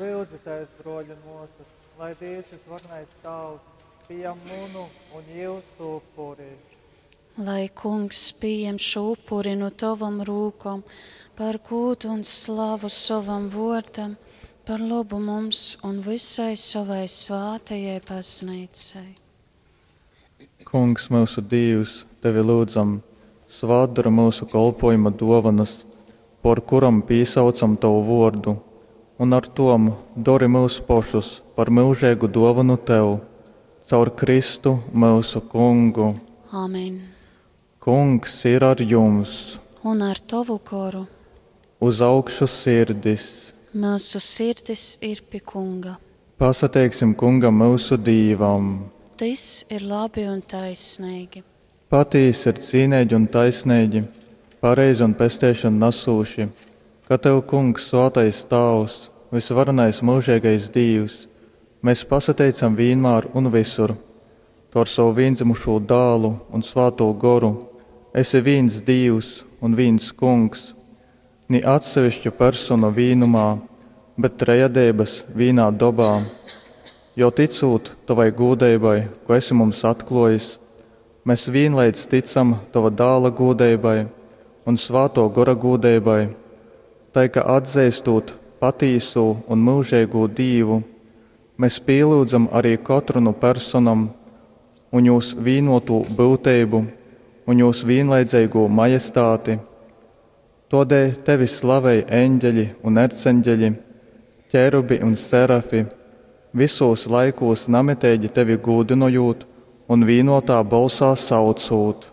Lyudzitēs, brōļi un mōsas, lai Dievs visvarenais Tāvs pieņem munu un jūsu upuri. Lai Kungs pieņem šo upuri no tavam rūkom par gūdu un slavu sovam vōrdam, par labu mums un visai sovai svātajai baznīcai. Kungs, myusu Dīvs, tevi lyudzam, svātdori myusu kolpōjuma dōvonas, pōr kurom pīsaucam tovu vōrdu, un ar tom dori myus pošus par myužeigu dōvonu tev. Caur Kristu, myusu Kungu. Amen. Kungs ir ar jums! Un ar tovu goru. Uz augšu sirdis! Myusu sirdis ir pi Kunga. Pasateiksim Kungam myusu Dīvam! Tys ir labi un taisneigi. Patīsi ir cīneigi un taisneigi, pareizi un pesteišonu nasūši, ka tev, Kungs, svātais Tāvs, vysvarenais myužeigais Dīvs, mes pasateicam vīnmār un vysur. Tu ar sovu vīndzymušū Dālu un Svātū Goru esi vīns Dīvs un vīns Kungs, ni atsevišku personu vīnumā, bet trejadeibas vīnā dobā. Jo tycūt tovai gūdeibai, kū esi mums atklōjis, mes vīnleidz tycam tova Dāla gūdeibai un Svātō Gora gūdeibai, tai ka atzeistūt patīsū un myužeigū Dīvu, mes pīlyudzam ari kotru nu personom un jūs vīnōtū byuteibu un jūs vīnleidzeigū majestāti. Tōdēļ tevi slavej eņģeļi un erceņģeļi, ķerubi un serafi, vysūs laikūs namiteigi tevi gūdynojūt un vīnōtā bolsā saucūt.